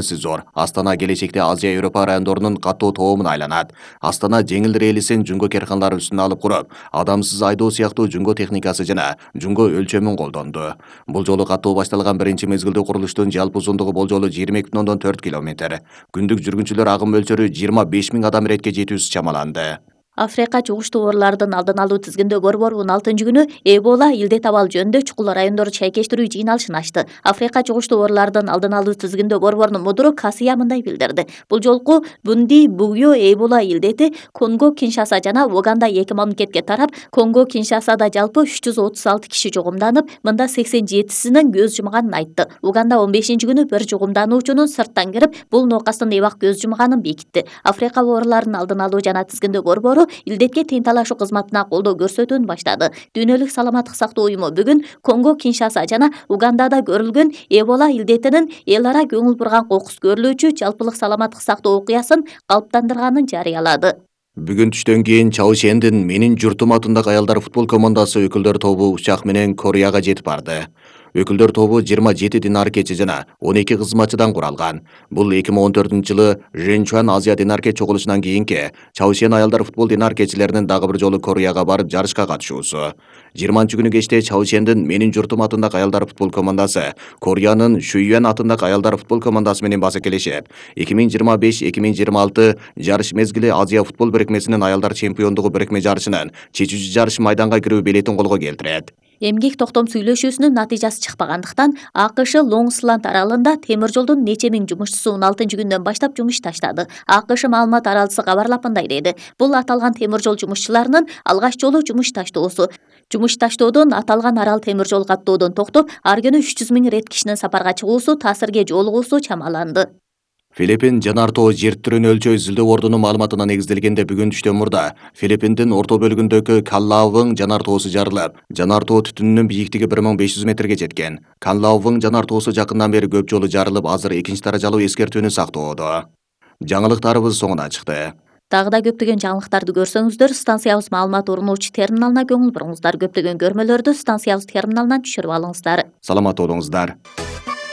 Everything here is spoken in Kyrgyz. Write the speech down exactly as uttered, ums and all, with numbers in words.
зор. Астана келечекте Азия Европа райондорунун катуу тобуна айланат. Астана жеңил релисин жүнгө керканалар үстүнө алып куруп, адамсыз айдоо сыяктуу жүнгө техникасы жана жүнгө өлчөмүн колдонду. Бул жолу катуу башталган биринчи мезгилдүү курулуштун жалпы узундугу болжолу жыйырма эки бүтүн ондон төрт километр. Күндүк жүргүнчүлөр агым мөлчөрү жыйырма беш миң адам иретке жетүүсү чамаланды. Африка жугуштуу оорулардын алдын алуу тизгинде борбор он алтынчы күнү Эбола илдет абал жөнүндө чукул райондорду чайкештирүү жыйналышын ачты. Африка жугуштуу оорулардын алдын алуу тизгинде борбордун мудуру Касыя мындай билдирди. Бул жолку Бунди Бугуё Эбола илдети Конго Киншаса жана Уганда эки мамлекетке тарап, Конго Киншасада жалпы үч жүз отуз алты киши жугумданып, мында сексен жетисинин көз жумганын айтты. Уганда он бешинчи күнү бир жугумдануучунун сырттан кирип, бул нокастын эбак көз жумганын бекитти. Африка ооруларын алдын алуу жана тизгиндөө борбору илдетке тең талашуу кызматына колдоо көрсөтүүнү баштады. Дүйнөлүк саламаттык сактоо уюму бүгүн Конго Киншаса жана Угандада көрүлгөн Эбола илдетинин эл ара көңүл бурган кокус көрүлүүчү жалпылык саламаттык сактоо окуясын калыптандырганын жарыялады. Бүгүн түштөн кийин Чаошендин Менин журтум атындагы аялдар футбол командасы өкүлдөр тобу учак менен Кореяга жетип барды. Өкүлдөр тобу жыйырма жети дин аркечи жана он эки кызматчыдан куралган. Бул эки миң он төртүнчү жылы Женчуан Азия дин аркеч чогулушунан кийинки Чаошен аялдар футбол дин аркечилеринин дагы бир жолу Кореяга барып жарышка катышуусу. жыйырманчы күнү кечте Чаошендин Менин журтум атындагы аялдар футбол командасы Кореянын Шуюэн атындагы аялдар футбол командасы менен басакелешип, эки миң жыйырма беш эки миң жыйырма алты жарыш мезгили Азия футбол бирикмесинин аялдар чемпиондугу бирикме жарышынын чечүүчү жарыш майданга кирүү билетин колго келтирет. Эмгек токтом сүйлөшүүсүнүн натыйжасы чыкпагандыктан АКШ Лонгсланд аралында темир жолдун нече миң жумушчусу он алтынчы күндөн баштап жумуш таштады. АКШ маалымат аралысы кабарлап мындай деди. Бул аталган темир жол жумушчуларынын алгач жолу жумуш таштоосу. Жумуш таштоодон аталган арал темир жол каттоодон токтоп, ар күнү үч жүз миң рет кишинин сапарга чыгуусу, таасирге жолугуусу чамаланды. Филиппин жанар тоо жер түрүн өлчөө изилдөө ордунун маалыматына негизделгенде бүгүн түштөн мурда Филиппиндин орто бөлүгүндөгү Канлаовың жанар тоосу жарылып, жанар тоо түтүнүнүн бийиктиги бир миң беш жүз метрге жеткен. Канлаовың жанар тоосу жакындан бери көп жолу жарылып, азыр экинчи даражалуу эскертүүнү сактоодо. Жаңылыктарыбыз соңуна чыкты. Дагы да көптөгөн жаңылыктарды көрсөңүздөр, станциябыз маалымат орунуучу терминалына көңүл буруңуздар. Көптөгөн көрмөлөрдү станциябыз терминалынан түшүрүп алыңыздар. Саламат болуңуздар.